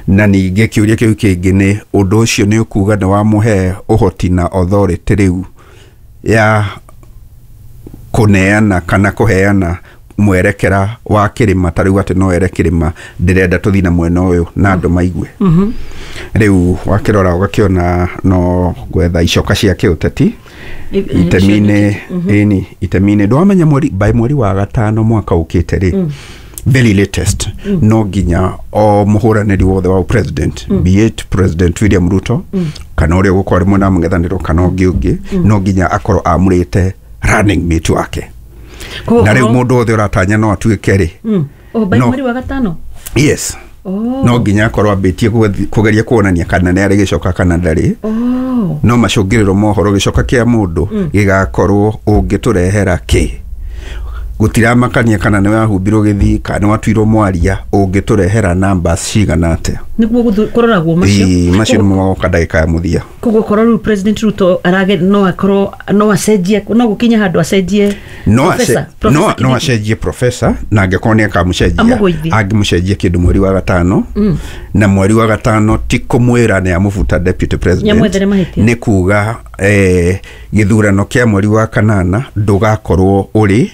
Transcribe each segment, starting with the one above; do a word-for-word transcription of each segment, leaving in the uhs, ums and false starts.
Na ningĩ kĩũria kĩu kĩngĩ nĩ ũndũ ũcio nĩ ũkuga nĩ wamũhe ũhoti na authority rĩu ya kũneana kana kũheana mwerekera wa kĩrĩma, ta rĩu atĩ no ere kĩrĩma, "Ndĩrenda tũthiĩ na mwena ũyũ," na andũ maigue. Rĩu wakĩrora ũgakĩona no gwetha icoka cia kĩũteti itemi-inĩ, ĩni itemi-inĩ. Ndwamenya mweri by mweri wa gatano mwaka ũkĩte rĩ, very latest, no nginya o mũhũranĩri wothe wa president, be it President William Ruto kana ũrĩa ũgũkorwo arĩ mwena wa mũng'ethanĩro kana ũngĩ ũngĩ, no nginya akorwo amũrĩte running mate wake. Koguo Na rĩu korwo- mũndũ wothe ũratanya no atuĩke rĩ Mm. Oh, by No. mweri wa gatano. Yes. Oh. No nginya akorwo ambĩtie kũgethi- kũgeria kuonania kana nĩ arĩ gĩcoka kana ndarĩ. Oh. No macũngĩrĩro mohoro gĩcoka kĩa mũndũ gĩgakorwo ũngĩtũrehera kĩ, gũtiramakania kana nĩ wahumbirwo gĩthii kana nĩ watuirwo mwaria, ũngĩtũrehera numbers cigana atĩa. Nĩguo gũthu- kũroragwo macio. Ĩĩ, macio nĩmo magoka ndagĩka ya mũthia. Koguo korwo rĩu President Ruto arage no akorwo no acenjie, no gũkinya handũ acenjie no Professor- ace- Professor no no Kindiki. acenjie professor, na angĩkorwo nĩ akamũcenjia, Amũgũithie. angĩmũcenjia kĩndũ mweri wa gatano, na mweri wa gatano ti kũmwĩra nĩ amũbuta deputy president. Nĩamwethere mahĩtia. Nĩ kuga eh, gĩthurano kĩa mweri wa kanana ndũgakorwo ũrĩ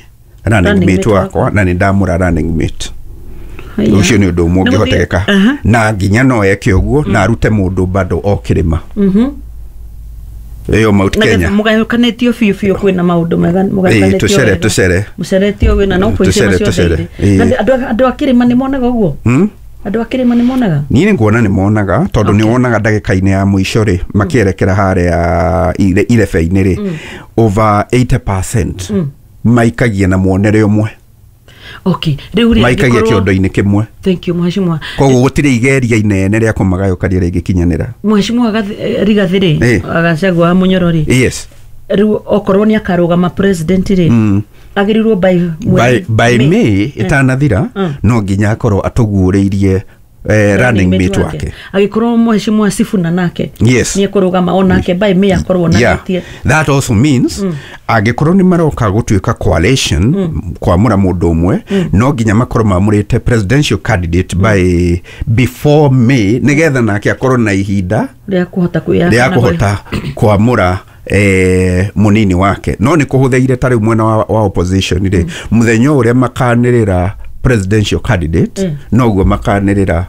running Running mate mate wakwa, na nĩ ndamũra running mate. Haya. Ũcio nĩ ũndũ ũmwe Nĩ gũthiĩ- ũngĩhotekeka. Aha. Na nginya no eke ũguo na arute mũndũ bado o kĩrĩma ĩyo Mount Na Kenya. getha mũgayũkanĩtio biũ biũ, kwĩna maũndũ mega Ĩĩ, mũgayũkanĩtio tũcere, wega. Tũcere. Mũceretio wĩna no kwĩcie Tũcere, macio tũcere. othe. Ĩĩ. Na andũ andũ a kĩrĩma nĩ monaga ũguo? Hmm? Andũ a kĩrĩma nĩ monaga? Niĩ nĩ nguona nĩ monaga, tondũ nĩ wonaga ndagĩka-inĩ ya mũico rĩ, makĩerekera harĩa ire- irebe-inĩ rĩ, over eighty percent maikagia na muonere ũmwe. Okay, rĩu rĩ Maikagia angĩkorwo- kĩondo-inĩ kĩmwe. Thank you, mheshimiwa. Koguo gũtirĩ igeria inene rĩa kũmagayũkania rĩngĩkinyanĩra. Mheshimiwa Gathi- Rigathi rĩ, Ĩĩ. Gachagua wa Mũnyoro rĩ, yes rĩu okorwo nĩ akarũgama president rĩ, Mm. agĩrĩirwo by by, by May ĩtanathira, Mm. no nginya akorwo atũguũrĩirie eh, running mate wake. Agĩkorwo mheshimiwa Sifuna nake Yes. nĩ ekũrũgama onake, by May akorwo yeah. onanĩtie. That also means angĩkorwo nĩ maroka gũtuĩka coalition kwamũra mũndũ ũmwe, no nginya makorwo mamũrĩte presidential candidate by before May, nĩgetha nake akorwo na ihinda rĩa kũhota kwĩyaka rĩa na kũhota kwamũra eh, mũnini wake. No nĩ kũhũthĩire ta rĩu mwena wa, wa opposition rĩ, mũthenya ũrĩa makanĩrĩra presidential candidate, Mm. noguo makanĩrĩra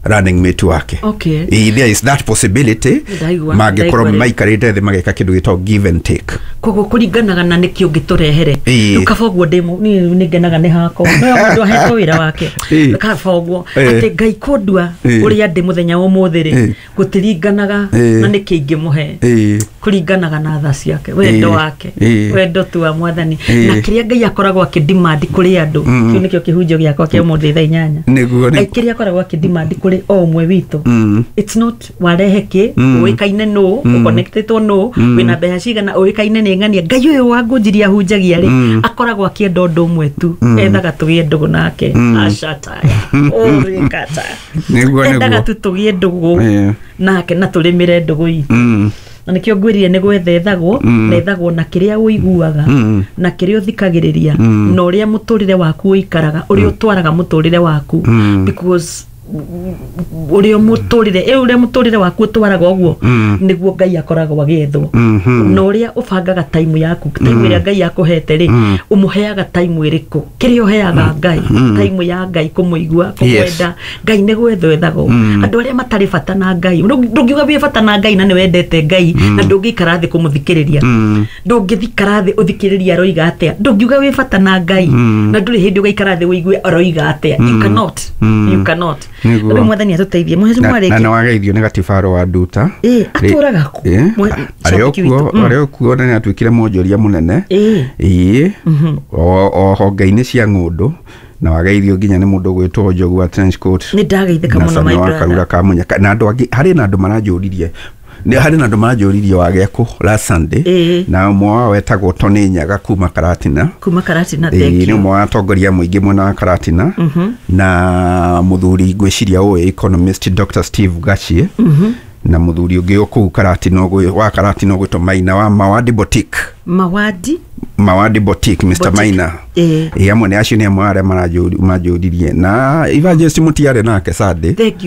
running mate wake. Okay. Ĩ, there is that possibility. Ndaigua, mangĩkorwo ndaigua rĩ. maikarĩte thĩ mageka kĩndũ gĩtagwo give and take. Koguo kũringanaga na nĩkĩ ũngĩtũrehere. Ĩĩ. Rĩu kaba ũguo ndĩ mũ- niĩ nĩ ngenaga nĩ hakwa no mũndũ ahetwo wĩra wake. Ĩĩ. Kaba ũguo Ĩĩ. atĩ Ngai kũndua Ĩĩ. ũrĩa ndĩ mũthenya wa ũmũthĩ rĩ, Ĩĩ. gũtiringanaga Ĩĩ. na nĩkĩ ingĩmũhe. Ĩĩ. Kũringanaga na tha ciake, wendo Ĩĩ. wake, Ĩĩ. wendo tu wa Mwathani Ĩĩ. na kĩrĩa Ngai akoragwo akĩdemand kũrĩ andũ. Kĩu nĩkĩo kĩhunjio gĩakwa kĩa ũmũthĩ thaa inyanya. Nĩguo, Ngai nĩguo. kĩrĩa akoragwo akĩdemand kũrĩ o ũmwe witũ, Mm. it's not warehe kĩ, Mm. ũĩkaine nũ, ũconnectĩtwo nũ, wĩna mbeca cigana, ũĩkaine nĩ ng'ania. Ngai ũyũ wa ngũnjiri ahunjagia rĩ, akoragwo akĩenda ũndũ ũmwe tu, ethaga tũgĩe ndũgũ nake. Acataya ũrĩkata. Nĩguo, Endaga nĩguo. tu tũgĩe ndũgũ Ĩĩ. nake na tũrĩmĩre ndũgũ itũ. Mm. Na nĩkĩo ngwĩrire nĩ gwetha ethagwo, na ethagwo na kĩrĩa ũiguaga Mm. na kĩrĩa ũthikagĩrĩria na ũrĩa mũtũrĩre waku ũikaraga, ũrĩa ũtwaraga mũtũrĩre waku, because ũrĩa mũtũrĩre ĩ ũrĩa mũtũrĩre waku ũtwaraga ũguo nĩguo Ngai akoragwo agĩethwo, Mhm. na ũrĩa ũbangaga time yaku, time ĩrĩa Ngai akũhete rĩ, ũmũheaga time ĩrĩkũ, kĩrĩa ũheaga Ngai, time ya Ngai kũmũigua, kũmwenda Ngai. Nĩ gwethwo ethagwo andũ arĩa matarĩ bata na Ngai. Ndũ- ndũngiuga wĩ bata na Ngai na nĩ wendete Ngai na ndũngĩikara thĩ kũmũthikĩrĩria, ndũngĩthikara thĩ ũthikĩrĩrie aroiga atĩa. Ndũngiuga wĩ bata na Ngai na ndũrĩ hĩndĩ ũgaikara thĩ ũigue aroiga atĩa. You cannot, you cannot. Nĩguo. Rĩu Mwathani atũteithie, mũheci na na mwarĩkia. nĩ wageithio nĩ gatibaro wa Nduta. Ĩ, atũraga kũ? Ĩ, Mwe- arĩ o Shabiki kuo. witũ. Mm. Arĩ o kuo na nĩ atuĩkire mwonjoria mũnene. Ĩ. Ĩ, o o honge-inĩ cia ng'ũndũ, na wageithio nginya nĩ mũndũ ũgwĩtwo Njogu wa trench coat. Nĩ ndageithĩka na mũno, Sami my wa brother. Karura ka Mũnyaka na andũ angĩ. Harĩ na andũ maranjũririe nĩ harĩ na andũ maranjũririe wagĩa kũ last Sunday. Ĩ. Na ũmwe wao wetagwo Tony Nyaga kuma Karatina. Kuma Karatina. Ĩ, Thank nĩ you. ũmwe wa atongoria mũingĩ mwena wa Karatina, na mũthuri ngwĩciria ũĩ, economist Doctor Steve Gachie, na mũthuri ũngĩ o kũu Karatina ũgwĩ- wa Karatina ũgwĩtwo Maina wa Mawadi Boutique. Mawadi. Mawadi Boutique, Mister Boutique. Maina. Ĩ. Ĩ, amwe nĩ acio nĩ amwe arĩa maranjũririe, na evangelist Mũtiarĩ nake Sunday. Thank you.